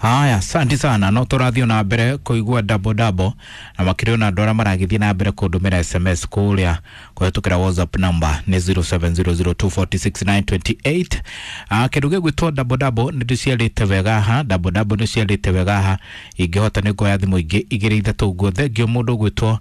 Haya, asante sana. No tũrathiĩ na mbere kũigua double double na makĩria ona andũ arĩa maragĩthiĩ na mbere kũndũmĩra SMS kũrĩa kũhetũkĩra WhatsApp number nĩ 0700246928. Kĩndũ gĩgwĩtwo double double nĩ ndĩciarĩte wega haha, double double nĩ ciarĩte wega haha. Ingĩhota nĩ nguoya thimũ ingĩ igĩrĩ ithatũ ũguo. Thengiũ mũndũ ũgwĩtwo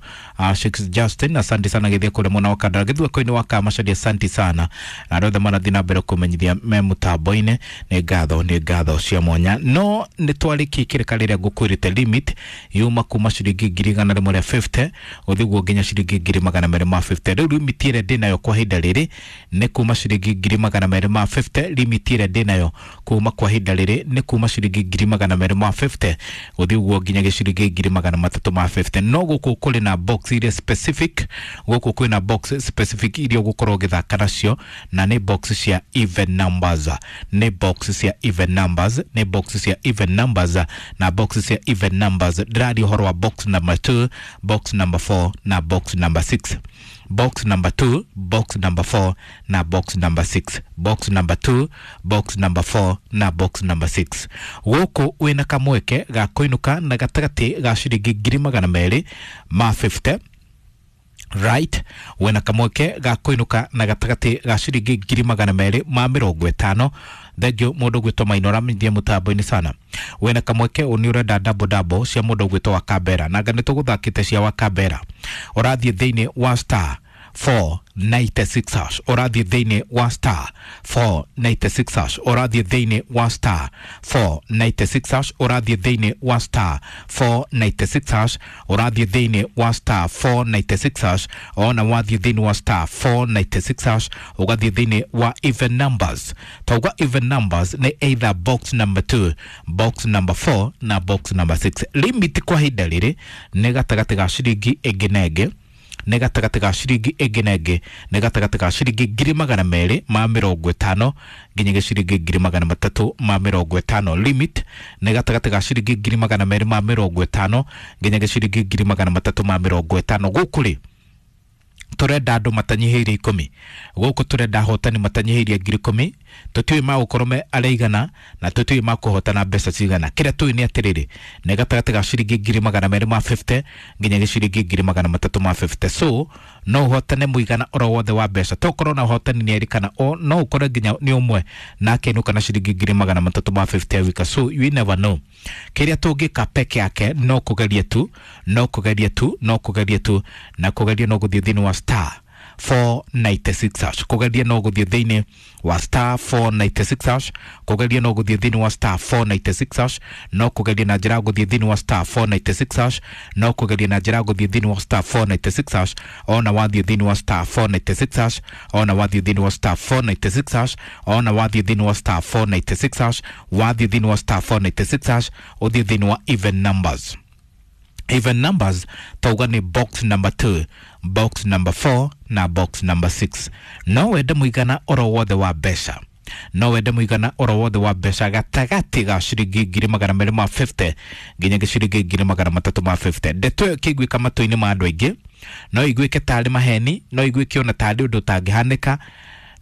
Shix Justin, asante sana gĩthiĩ kũrĩa mwena wa Kandara gĩthueko-inĩ wa Kamacharia, asante sana. Na andũ othe marathiĩ na mbere kũmenyithia me mũtambo-inĩ, nĩ ngatho cia mwanya. No nĩ twarĩkia kĩrĩka rĩrĩa ngũkwĩrĩte limit yuma kuma ciringi 150,000 gũthiĩ guo nginya ciringi 250,000. Rĩu limit ĩrĩa ndĩnayo kwa ihinda rĩrĩ nĩ kuma ciringi 250,000. Limit ĩrĩa ndĩnayo kuma kwa ihinda rĩrĩ nĩ kuma ciringi 250,000 gũthiĩ guo nginya gĩciringi 350,000. No gũkũ kũrĩ na box iria specific, gũkũ kwĩna box specific iria ũgũkorwo ũgĩthaka nacio, na nĩ box cia even numbers, nĩ box cia even numbers, nĩ box cia even numbers. Na box cia even numbers ndĩraria ũhoro wa box number 2, box number 4 na box number 6. Box number 2, box number 4 na box number 6. Box number 2, box number 4 na box number 6. Gũkũ wĩna kamweke ga kũinũka na gatagatĩ ga ciringi 250,000, right? Wena kamweke ga kũinũka na gatagatĩ ga ciringi 250,000. Thengio mũndũ ũgwĩtwo Maina ũramenyithia mũtambo-inĩ sana. Wena kamweke nĩ ũrenda double double cia mũndũ ũgwĩtwo wa Kambera, na anga nĩ tũgũthakĩte cia wa Kambera. Ũrathiĩ thĩinĩ wa star 496 hash, ũrathiĩ thĩinĩ wa star 496 hash, ũrathiĩ thĩinĩ wa star 496 hash, ũrathiĩ thĩinĩ wa star 496 hash, ũrathiĩ thĩinĩ wa star 496 hash. Ona wathiĩ thĩinĩ wa star 496 hash, ũgathiĩ thĩinĩ wa even numbers. Tauga even numbers nĩ either box number 2, box number 4 na box number 6. Limit kwa ihinda rĩrĩ nĩ gatagatĩ ga ciringi ĩngĩ na ĩngĩ, nĩ gatagatĩ ga ciringi ĩngĩ na ĩngĩ, nĩ gatagatĩ ga ciringi 250,000 nginya ciringi 350,000. Limit nĩ gatagatĩ ga ciringi 250,000 nginya ciringi 350,000. Gũkũ rĩ tũrenda andũ matanyihĩirie 10. Gũkũ tũrenda ahotani matanyihĩirie 10,000. Tũtiũĩ magũkorwo me arĩa na tũtiũĩ makũhotana mbeca cigana. Kĩrĩa tũĩ nĩ atĩrĩrĩ, nĩ gatagatĩ ga ciringi 250,000 nginya gĩciringi 350,000. So no ũhotane mũigana oro wothe wa mbeca, tokorwo na ũhotani nĩ erĩ kana no ũkore nginya nĩ ũmwe na akenũka na ciringi 350,000 wika. So you never know. Kĩrĩa tũngĩka peke yake no kũgeria tu, no kũgeria tu, no kũgeria tu. Na kũgeria no gũthiĩ thĩinĩ wa star 496 hash. Kũgeria no gũthiĩ thĩinĩ wa star 496 hash. Kũgeria no gũthiĩ thĩinĩ wa star 496 hash. No kũgeria na njĩra ya gũthiĩ thĩinĩ wa star 496 hash. No kũgeria na njĩra ya gũthiĩ thĩinĩ wa star 496 hash. Ona wathiĩ thĩinĩ wa star 496 hash, ona wathiĩ thĩinĩ wa star 496 hash, ona wathiĩ thĩinĩ wa star 496 hash, wathiĩ thĩinĩ wa star 496 hash, ũthiĩ thĩinĩ wa even numbers. Even numbers tauga nĩ box number 2, box number 4 na box number 6. No wende mũigana oro wothe wa mbeca, no wende mũigana oro wothe wa mbeca gatagatĩ ga ciringi 250,000 nginya ciringi 350,000. Ndeto ĩyo ĩkĩiguĩka matũ-inĩ ma andũ aingĩ no iguĩke tarĩ maheni, no iguĩke ona tarĩ ũndũ ũtangĩhanĩka.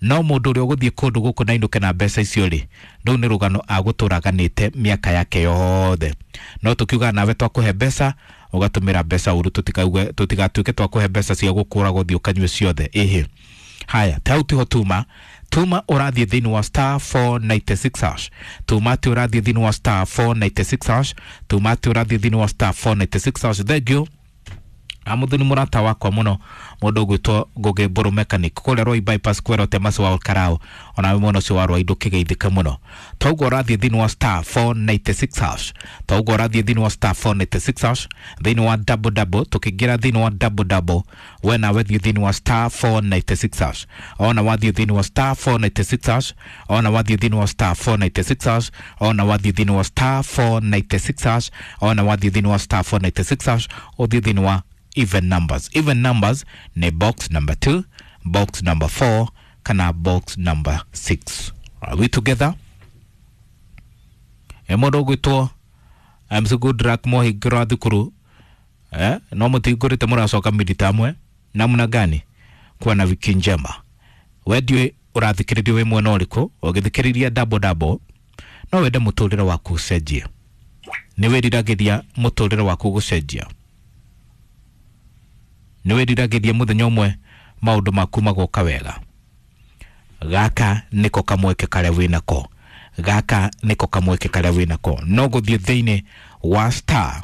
No mũndũ ũrĩa ũgũthiĩ kũndũ gũkũ na ainũke na mbeca icio rĩ, rĩu nĩ rũgano agũtũra aganĩte mĩaka yake yothe. No tũkiuga nawe twakũhe mbeca ũgatũmĩra mbeca ũru, tũtigatuĩke twakũhe mbeca cia gũkũra gũthiĩ ũkanyue ciothe. Ĩhĩ, haya, ta hau tiho tuma. Tuma ũrathiĩ thĩinĩ wa star 496 hash. Tuma atĩ ũrathiĩ thĩinĩ wa star 496 hash. Tuma atĩ ũrathiĩ thĩinĩ wa star 496 hash. Thank amuthuni mũrata wakwa mũno, mũndũ ũgwĩtwo Ngũgĩ Mbũrũ mechanic kũrĩa Roi bypass kwĩra ũtemasi wa Karao, onawe mwena ũcio wa Rwai ndũkĩgeithĩke mũno. Toguo ũrathiĩ thĩinĩ wa star 496 hash, toguo ũrathiĩ thĩinĩ wa star 496 hash, thĩinĩ wa double double. Tũkĩingĩra thĩinĩ wa double double, we nawe thiĩ thĩinĩ wa star 496 hash. Ona wathiĩ thĩinĩ wa star 496 hash, ona wathiĩ thĩinĩ wa star 496 hash, ona wathiĩ thĩinĩ wa star 496 hash, ona wathiĩ thĩinĩ wa star 496 hash, ũthiĩ thĩinĩ wa even numbers. Even numbers ni box number 2, box number 4 kana box number 6. Are we together? E mũndũ ũgwĩtwo MC Goodluck mohingĩrwo thukuru, no mũtihingũrĩte mũracoka midterm namna gani? Kuwa na wiki njema. We ndiũĩ ũrathikĩrĩria wĩ mwena ũrĩkũ ũgĩthikĩrĩria double double. No wende mũtũrĩre waku ũcenjie. Nĩ wĩriragĩria mũtũrĩre waku gũcenjia? Nĩ wĩriragĩria mũthenya ũmwe maũndũ maku magoka wega? Gaka nĩko kamweke karĩa wĩnako, gaka nĩko kamweke karĩa wĩnako. No gũthiĩ thĩinĩ wa star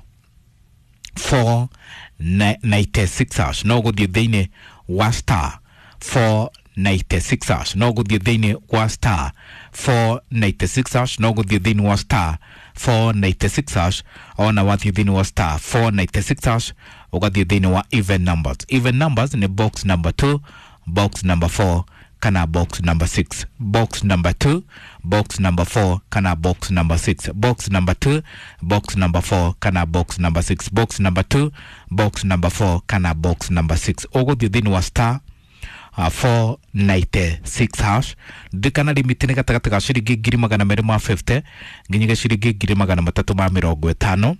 496 hash, no gũthiĩ thĩinĩ wa star 496 hash, no gũthiĩ thĩinĩ wa star 496 hash, no gũthiĩ thĩinĩ wa star 496 hash. Ona wathiĩ thĩinĩ wa star 496 hash, ũgathiĩ thĩinĩ wa even numbers. Even numbers nĩ box number 2, box number 4 kana box number 6. Box number 2, box number 4 kana box number 6. Box number 2, box number 4 kana box number 6. Box number 2, box number 4 kana box number 6. Ũgũthiĩ thĩinĩ wa star 496 hash. Ndikana limit nĩ gatagatĩ ga ciringi 250,000 nginyagia ciringi 350,000.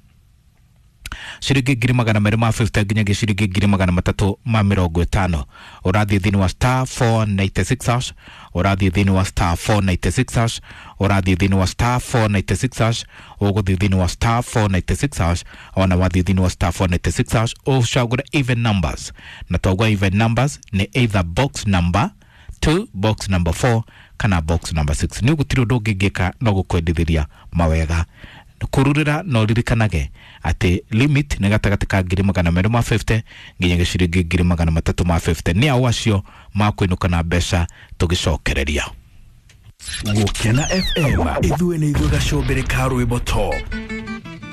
Ciringi 250,000 nginyagia ciringi 350,000. Ũrathiĩ thĩinĩ wa star 496 hash, ũrathiĩ thĩinĩ wa star 496 hash, ũrathiĩ thĩinĩ wa star 496 hash, ũgũthiĩ thĩinĩ wa star 496 hash. Ona wathiĩ thĩinĩ wa star 496 hash, ũcagũre even numbers, na twauga even numbers nĩ either box number 2, box number 4 kana box number 6. Nĩ gũtirĩ ũndũ ũngĩngĩka no gũkwendithĩria mawega kururira. No ririkanage atĩ limit nĩ gatagatĩ ka 250,000 nginyagia ciringi 350,000. Nĩ ao acio makwĩnũka na mbeca tũgĩcokereria. Gũkena FM, ithuĩ nĩ ithuĩ gacombere ka rwĩmbo top.